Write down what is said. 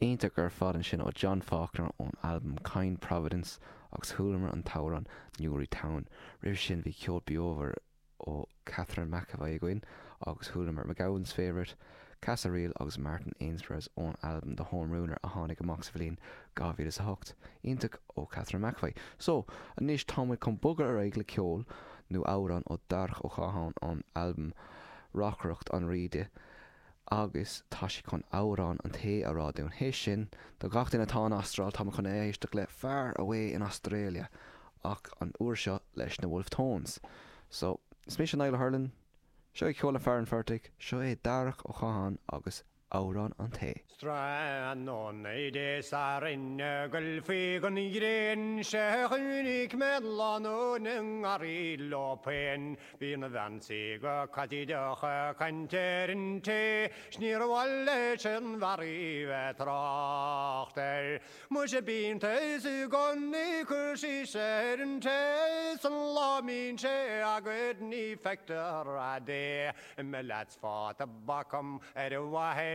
Iontach ar fad ansin ó John Faulkner ón albam Kind Providence agus chualamar an t-amhrán Newry Town. Roimhe sin bhí ceol beomhar ó Catherine McEvoy againn agus chualamar MacGowan's Favourite, Casadh Ríl agus Martin Ainsworth ón albam The Home Ruiner a tháinig amach sa bhliain 2008. Iontach ó Catherine McEvoy. So, anois tá muid chun bogadh ar aghaidh le ceol nó amhrán ó Darach Ó Catháin ón albam Reacaireacht an Rí di agus tá sé chun amhrán an tae a rá dúinn. Théis sin, do gach duine atá in Astráil, tá muid chun éisteacht le Far Away in Australia ach an uair seo leis na Wolfe Tones. So, is mise Niall Hurlin, seo é ceol le fear an phortaigh, seo é Darach Ó Catháin agus Amhrán an Tae. Tráthnóna Dé Sathairn ag goil faoi gon ghréin 'sea chonaic mé lánúin i ngarraí leo féin. Bhí an bhean sí go caitideach ag caint ar an tae 's níor mhaith leis an bhfear í bheith trácht air. Muise b'iontas i gcónaí cur síos ar an tae 's an lá mbíonn sé agat ní feictear a'd é. Imigh leat fá tobac ar mhaithe.